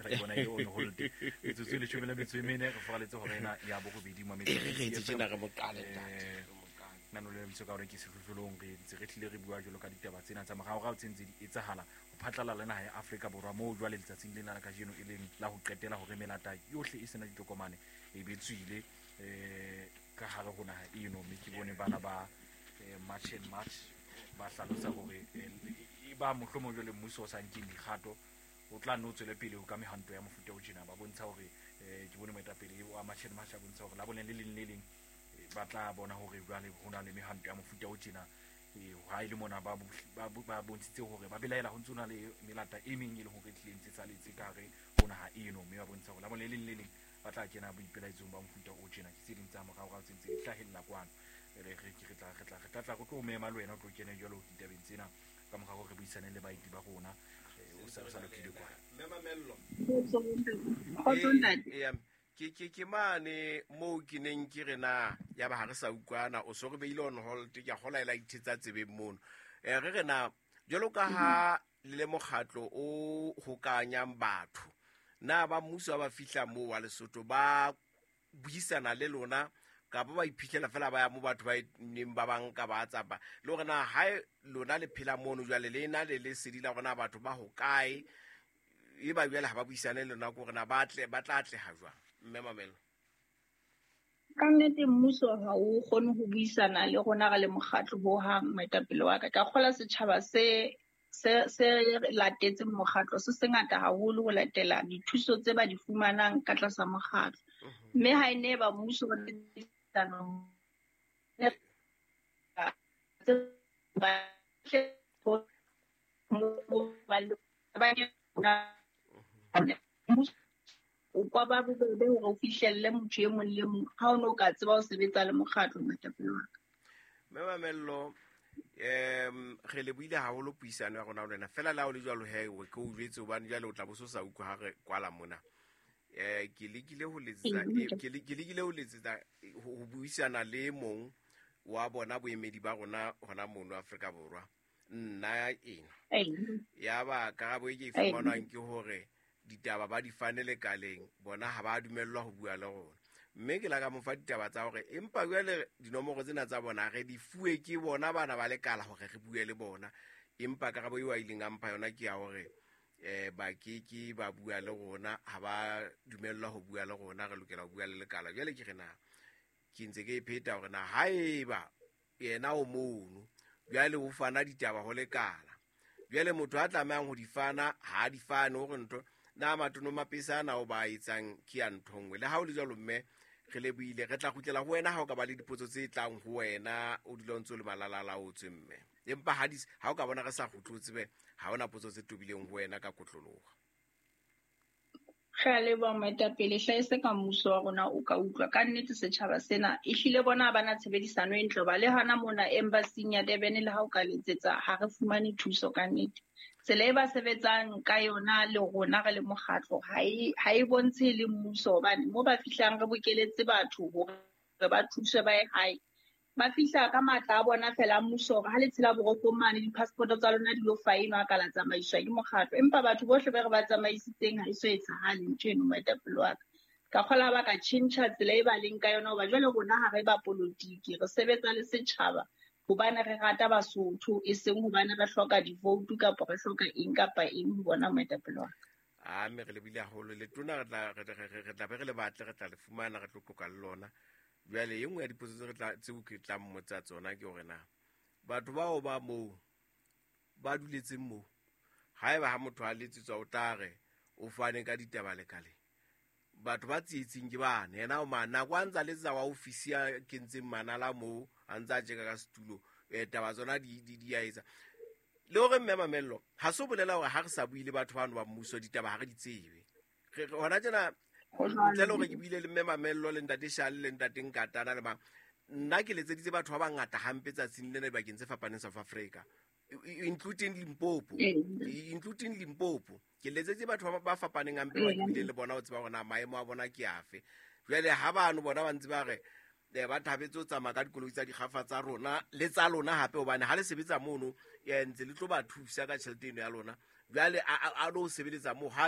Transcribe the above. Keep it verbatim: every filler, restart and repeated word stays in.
Ke bona e on hold. Metsotso e leshome le metso e mene re foraletse hora ena ya borobedi mo E re re etse tjena re mo qale, ntate. Eh, nano le lebitso ka hore ke sehlohlolong, re ntse re tlile re bua jwalo ka ditaba tsena tsa moraorao tse ntse di etsahala ho phatlalla le naha ya Afrika Borwa, moo jwale letsatsing lena la kajeno e leng la ho qetela hore melata yohle e sena ditokomane e be tswile eh ka hare ho naha eno. Mme ke bone bana ba eh, March and March ba hlalosa hore eh, e ba mohlomong jwale mmuso o sa nkeng dikgato, o tla nno o tswele pele ka mehwanto ya mofuta o tjena. Ba bontsha hore eh, ke bone moetapele wa March and March a bontsha hore la bone le leng le leng eh, ba tla bona hore jwale ho na le mehwanto ya mofuta o tjena. Eh, ha e le mona ba bo- ba bo- ba bontshitse hore ba belaela ho ntso na le melata e meng e leng hore e tlile ntse saletse ka hare ho naha eno, mme ba bontsha hore la bone le leng le leng ba tla kena boipelaetsong ba mofuta o tjena. Ke tse ding tsa moraorao tse ntse di hlahella kwano. Re re re tla re tla re tla tla re tlo mema le wena o tlo kene jwalo ditabeng tsena ka mora hore re buisane le baeti ba rona. Eh, o sa o sa lokile kwana. Mme Mamello. Kgotso, ntate. Ee, ke ke ke mane moo ke neng ke re na ya ba ha re sa utlwana, o so re beile on hold, ke a kgola e la ithetsa tsebeng mono. um re re na jwalo ka ha le le mokgatlo o hokanyang batho, na ba mmuso ha ba fihla moo wa Lesotho ba buisana le lona, kapa ba iphitlhela fela ba ya mo batho ba e neng ba banka ba tsapa, le hore na ha lona le phela mono jwale le na le lesedi la hore na batho ba hokae, e ba jwale ha ba buisane le lona, ke hore na ba tle ba tla atleha jwang, mme Mamelo? Ka nnete mmuso ha o kgone ho buisana le rona re le mokgatlo hohang, moetapele wa ka. Ka kgola setjhaba se se se latetseng mokgatlo se sengata haholo ho latela dithuso tse ba di fumanang ka tlasa mokgatlo. Mme ha e ne ba mmuso ba o kwa ba bobebe hore o fihlelle motho e mong le mong ha o no ka tseba ho sebetsa le mokgatlo, moetapele wa ka. Mme Mamello, um re lebohile haholo puisano ya rona le wena. Fela le ha o le jwalo he, ke o jwetse hobane jwale o tla bo so sa utlwa ha re kwala mona. um ke lekile ho letsetsa Ee, eh, ke le- ke lekile ho letsetsa ho ho buisana le mong wa bona boemedi ba rona hona mono Afrika Borwa nna ena. Ee. Ya ba karabo e ke e Ee. fumanwang ke hore ditaba ba di fane lekaleng, bona ha ba dumellwa ho bua le rona. Mme ke la ka mo fa ditaba tsa hore empa jwale dinomoro tsena tsa bona re di fuwe ke bona bana ba lekala hore re bue le bona, empa karabo eo a ileng a mpha yona ke ya hore eh ba ke ke ba bua le rona, ha ba dumellwa ho bua le rona, re lokela ho bua le lekala. Jwale ke re na ke ntse ke e pheta hore na haeba yena o mono jwale o fana ditaba ho lekala, jwale motho a tlamehang ho di fana ha a di fane, hore ntho na matono mapesa ana o ba etsang ke ya ntho nngwe. Le ha o le jwalo, mme, re lebohile, re tla kgutlela ho wena ha o ka ba le dipotso tse tlang ho wena, o dula o ntse o le malalalaotswe, mme. Empa ha di ha o ka bona re sa kgutle, o tsebe ha hona potso tse tobileng ho wena ka kotloloho. Re a leboha, moetapele. Hlahise ka mmuso wa rona o ka utlwa. Ka nnete setjhaba sena ehlile bona ha bana tshebedisano e ntle, hoba le hona mona embassy-ing ya Durban le ha o ka letsetsa ha re fumane thuso ka nnete. Tsela e ba sebetsang ka yona le rona re le mokgatlo ha e ha e bontshe le mmuso, hobane mo ba fihlang re bokeletse batho hore ba thuswe ba ye hae, ba fihla ka matla a bona fela a mmuso hore ha le tshela borokong mane di-passport tsa lona di lo faenwa ka la tsamaiswa ke mokgatlo. Empa batho bohle be re ba tsamaisitseng ha e so etsahale ntho eno, moetapele wa ka. Ka kgola ba ka tjhentjha tsela e ba leng ka yona, hoba jwale rona ha re ba polotiki, re sebetsa le setjhaba hobane re rata Basotho, e seng hobane re hloka di-vote kapa re hloka eng kapa eng ho bona, moetapele wa ka. A mme re lebohile haholo. Letona re tla re re re tla be re le batle, re tla le fumana, re tlo qoqa le lona. Jwale e nngwe ya dipotso tse re tla tseo ke tla mmotsa tsona ke hore na batho bao ba moo ba duletseng moo, haeba ha motho a letsetswa o tla re o fane ka ditaba lekaleng, batho ba tsietsing ke bane, yena o mane nako a ntsa letsetsa wa ofisi ya kentseng manala moo a ntsa tjeka ka setulo, eh, taba tsona di di di a etsa. Le hore mme Mamello, ha se ho bolela hore ha re sa bue le batho bano ba mmuso ditaba ha re di tsebe. Re re hona tjena Ho jwalo. ntle le hore ke buile le mme Mamello le ntate Shale le ntate Nkatana le mang, nna ke letseditse batho ba bangata hampe tsatsing lena dibakeng tse fapaneng South Africa, including Limpopo, Ee. including Limpopo. Ke letsetse batho ba ba fapaneng hampe ba ke Ee. buileng le bona ho tseba hore na maemo a bona ke afe. Jwale ha bano bona ba ntse ba re eh, ba thabetse ho tsamaya ka dikoloi tsa dikgafa tsa rona le tsa lona hape, hobane ha le sebetsa mono eh, ntse le tlo ba thusa ka tjhelete eno ya lona. Jwale a a- a lo sebeletsa moo ha